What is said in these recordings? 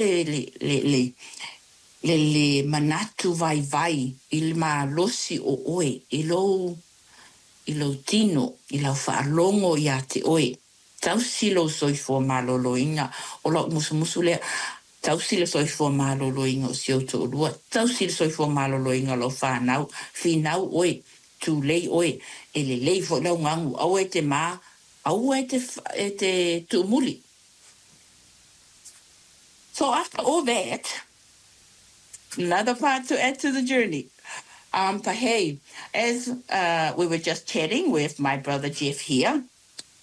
le le le le le manatu vaivai i le malosi o oe i lou i lou tino, i lau faalogo ia te oe. Tausi lou soifua maloloina, o lau musumusu lea, tausi le soifua maloloina o si ou toalua, tausi le soifua maloloina o lau fanau, finau oe, tulei oe, e lelei foi lau gagu, aua e te ma, aua e te, e te tuumuli. So after all that, another part to add to the journey. But hey, as we were just chatting with my brother Jeff here,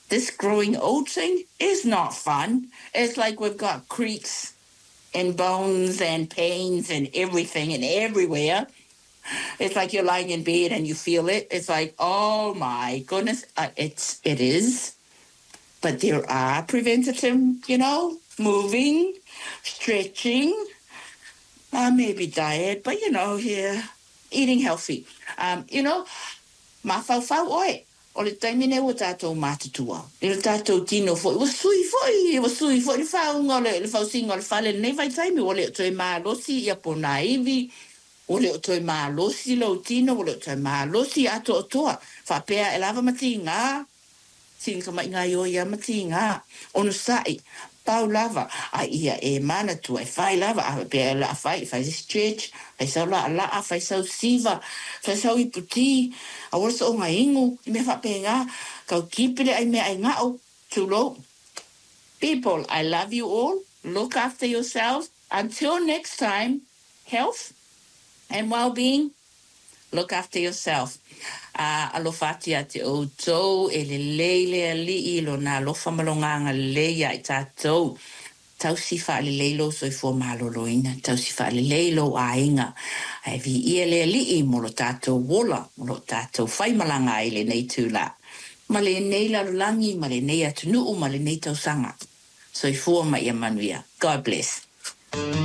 this growing old thing is not fun. It's like we've got creaks and bones and pains and everything and everywhere. It's like you're lying in bed and you feel it. It's like, oh my goodness, it is. But there are preventative, moving, stretching, maybe diet, but here, eating healthy. Mafaufau oe. O le taimi nei ua tatou matutua. I le tatou tino foi, ua sui foi, ua sui foi le faauga o le, le fausiga o le fale lenei vaitaimi, ua le o toe malosi ia ponaivi, ua le o toe malosi lou tino, ua le o toe malosi atoatoa. Faapea e lava ma tiga, sina tamai ioi ia ma tiga, onosa'i, pau lava, a ia e manatua e fai lava, a faapea o le a fai, fai se stretch, fai sau laalaa, fai sau siva, fai sau iputi, aua le soonga inu, i mea faapena, tau kipi le ai meaai ga'u, tulou. People, I love you all. Look after yourselves. Until next time, health and well-being. Look after yourself. Alofa atu ia te outou, e lelei le Alii i lona alofa ma lona agalelei ia i tatou. Tausi faalelei lou soifua maloloina, tausi faalelei lou aiga, ae viia le Alii mo lo tatou ola, mo lo tatou faimalaga ai i lenei itula, ma lenei lalolagi, ma lenei atunuu, ma lenei tausaga. Soifua ma ia manuia. God bless.